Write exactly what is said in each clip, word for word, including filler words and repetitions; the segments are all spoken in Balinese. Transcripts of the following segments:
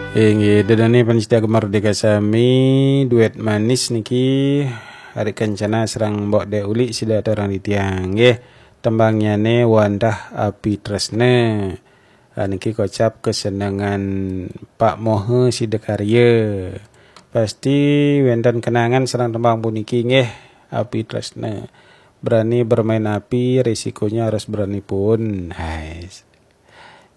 Inggih, dedene pancinta Gema Merdeka sami, duet manis niki, Ari Kencana sareng Mbok Dek Uli sida aturang titiang nggih. Tembangnyane Wandah Api Tresna. Ah, niki kocap kesenengan Pak Mohe sida karya. Pasti wenten kenangan sareng tembang puniki nggih, Api Tresna. Berani bermain api, risikonya harus berani pun. Hai.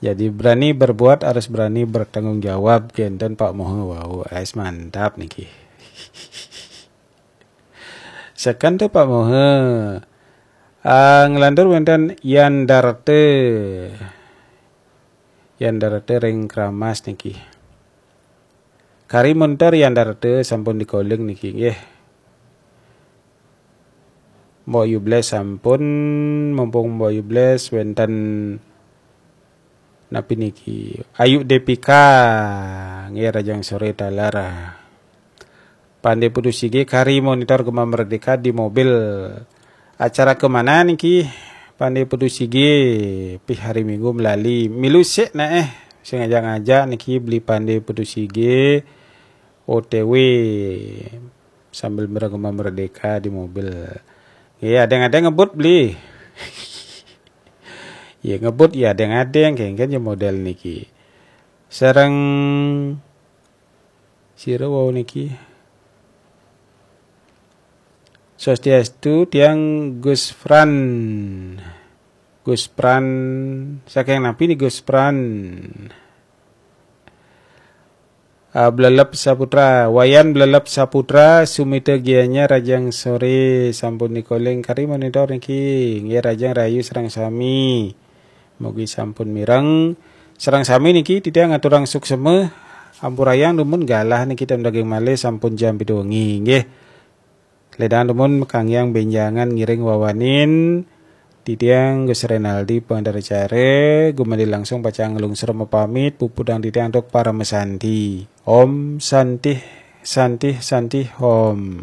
Jadi berani berbuat harus berani bertanggung jawab, kenten Pak Mohe wau. Ais, mantap niki. Seken te Pak Mohe. Ah, nglantur wenten Yandarte. Yandarte ring Kramas niki. Kari montor Yandarte sampun dikoling niki nggih. Mbok Yubles sampun, mumpung Mbok Yubles wenten napi niki? Ayu Depika nggih, rahajeng sore taler. Pande Putu Sige kari monitor Gema Merdeka di mobil. Acara kemana niki? Pande Putu Sige, pih hari Minggu melali. Milu sik nah eh. Sing ngajak-ngajak niki beli Pande Putu Sige O T W sambil mireng Gema Merdeka di mobil. Nggih, adeng-adeng ngebut beli. Ya ngebut ya adeng-adeng, kengken ya model niki. Sareng sira wau niki. Swastiastu, tiang Gus Fran. Gus Fran, saking napi ni Gus Fran? Ah, Blelep Saputra, Wayan Blelep Saputra, Sumita Gianyar, rahajeng sore sampun dikoling kari monitor niki. Nggih, rahajeng rahayu sareng sami. Mugi sampun mireng. Sareng sami niki titiang ngaturang suksema. Ampurayang dumun galah niki ten daging malih sampun jam pitu wengi nggih. Ledang dumun makanggiang benjangan ngiring wawanin titiang Gus Renaldi pangantar acara, gumanti langsung pacang nglungsur mapamit, puputang titiang antuk parama santi. Om Santih, Santih, Santih, Om.